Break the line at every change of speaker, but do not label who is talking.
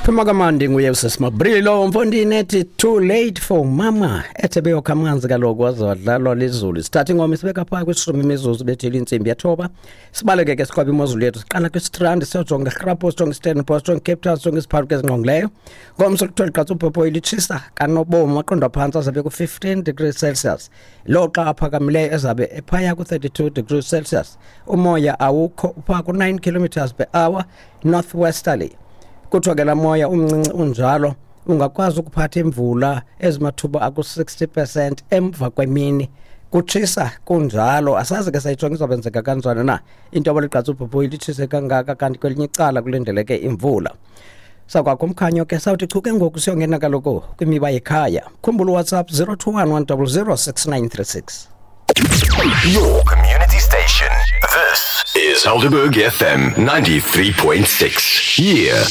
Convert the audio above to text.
Phuma kamandi nguye usesimabrilo mfondini ethi too late for mama, ethe beyokha amanzi kaloku waze wadlalwa lizulu. Sithatha ingoma isibeka phaa kwishumi imizuzu bethile intsimbi yethoba. Sibaleke ke siqwabe imozulu yethu, siqala kwistrand, siyojonga irhapo, sijonge iStellenbosch, sijonge iCape Town, sijonge isiphaluka ezingqongileyo. Ngomso kuthiwa ligqatsa ubhobhoyi litshisa kanobomi, aqondwa phantsi azabe ku-15 degrees Celsius, loxa aphakamileyo ezabe ephaya ku-32 degrees Celsius. Umoya awukho, uphaa ku-9 kilometers per hour northwesterly. Kuthiwa ke laa moya umncinci unjalo ungakwazi ukuphatha imvula ezimathuba aku-60% emva kwemini. Kutshisa kunjalo, asazi ke sayijonga izawubenzeka kanjani na into yoba ligqatsa ubhobhoyi litshise kangaka, kanti kwelinye icala kulindeleke imvula. Sakwakho umkhanyo ke sawuthi chu ke ngoku siyongena kaloku kwimiba yekhaya. Khumbula uWhatsApp 021 100 6936.
Your community station. This is Helderberg FM 93.6. Yeah.